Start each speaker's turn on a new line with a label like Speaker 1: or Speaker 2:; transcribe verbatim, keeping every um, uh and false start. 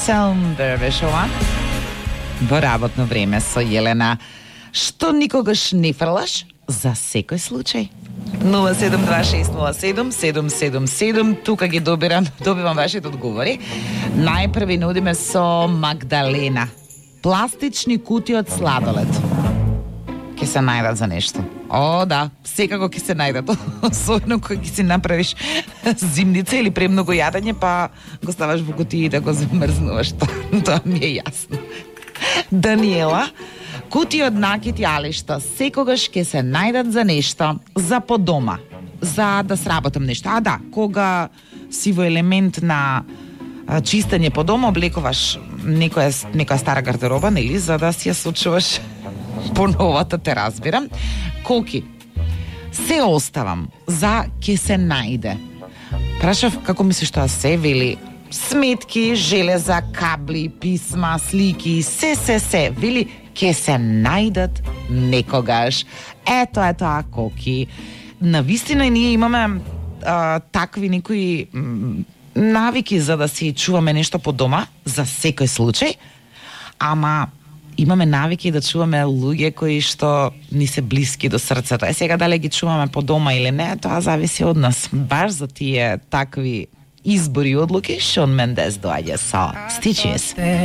Speaker 1: December беше ова. Во работно време со Јелена. Што никогаш не фрлаш за секој случај. нула седум два шест нула седум седум седум седум. Тука ги добирам, добивам вашите одговори. Најпрви нудиме со Магдалена. Пластични кутии од сладолед. Ке се најдат за нешто. О, да, секако ќе се најдат. Особено кога ќе си направиш зимница или премногу јадење, па го ставаш во кутии да го замрзнуваш. Тоа ми е јасно. Даниела, кутии од накити алишта секогаш ќе се најдат за нешто, за по дома, за да сработам нешто. А да, кога си во елемент на чистење по дома, облекуваш некоја, некоја стара гардероба, нели, за да си ја сочуваш по новата, те разбирам. Коки, се оставам за ке се најде. Прашав како мислиш тоа се, вели сметки, железа, кабли, писма, слики, се, се, се, вели ке се најдат некогаш. Ето е тоа, Коки. Навистина ние имаме а, такви некои м, навики за да си чуваме нешто по дома, за секој случај, ама имаме навики да чуваме луѓе кои што ни се блиски до срцето. Е сега дали ги чуваме по дома или не, тоа зависи од нас. Баш за тие такви избори и одлуки Шон Мендес доаѓа со Stitches.